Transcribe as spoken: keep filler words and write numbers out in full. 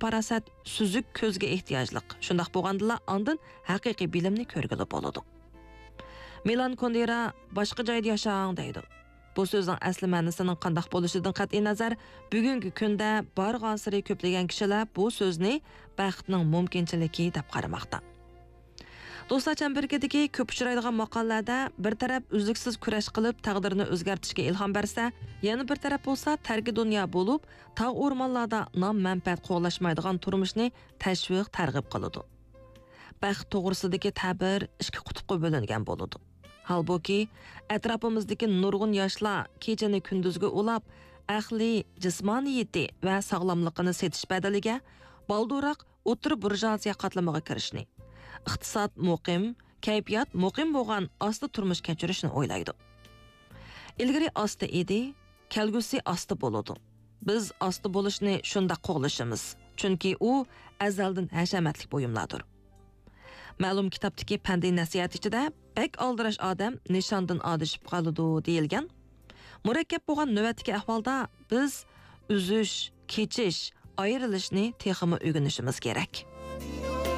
پاراسەت، سۈزۈك كۆزگە ئېھتىياجلىق. شۇنداق بولغاندىلا ئاندىن ھەقىقىي بىلىمنى كۆرگىلى بولىدۇ. مىلان كۇندېرا «باشقا جايدا ياشاڭ» دەيدۇ. بۇ سۆزنىڭ ئەسلى مەنىسىنىڭ قانداق بولۇشىدىن قەتئىينەزەر، بۈگۈنكى كۈندە بارغانسېرى كۆپلىگەن كىشىلەر بۇ سۆزنى بەختنىڭ مۇمكىنچىلىكى دەپ قارىماقتا. دوستلار چەمبىرىكىدىكى كۆپ ئۇچرايدىغان ماقالىلەردە بىر تەرەپ ئۈزلۈكسىز كۈرەش قىلىپ تەقدىرنى ئۆزگەرتىشكە ئىلھام بەرسە، يەنە بىر تەرەپ بولسا تەركى دۇنيا بولۇپ، تاغ ئورمانلاردا نام مەنپەئەت قوغلاشمايدىغان تۇرمۇشنى تەشۋىق تەرغىب قىلىدۇ. بەخت توغرىسىدىكى تەبىر ئىككى قۇتۇپقا بۆلۈنگەن بولىدۇ. ھالبۇكى، ئەتراپىمىزدىكى نۇرغۇن ياشلار كېچىنى كۈندۈزگە ئۇلاپ، ئەقلىي، جىسمانىيىتى ۋە ساغلاملىقىنى سېتىش بەدىلىگە بالدۇرراق ئوتتۇرا بۇرژۇئازىيە قاتلىمىغا كىرىشنى، ئىقتىساد مۇقىم، كەيپىيات مۇقىم بولغان ئاستا تۇرمۇش كەچۈرۈشنى ئويلايدۇ. ئىلگىرى ئاستا ئىدى، كەلگۈسى ئاستا بولىدۇ. بىز ئاستا بولۇشنى شۇنداق قوغلىشىمىز، چۈنكى ئۇ ئەزەلدىن ھەشەمەتلىك بۇيۇملاردۇر. مەلۇم كىتابتىكى پەندىي نەسىھەت ئىچىدە «بەك ئالدىراش ئادەم نىشاندىن ئادىشىپ قالىدۇ» دېيىلگەن. مۇرەككەپ بولغان نۆۋەتتىكى ئەھۋالدا بىز ئۈزۈش، كېچىش، ئايرىلىشنى تېخىمۇ ئۆگىنىشىمىز كېرەك.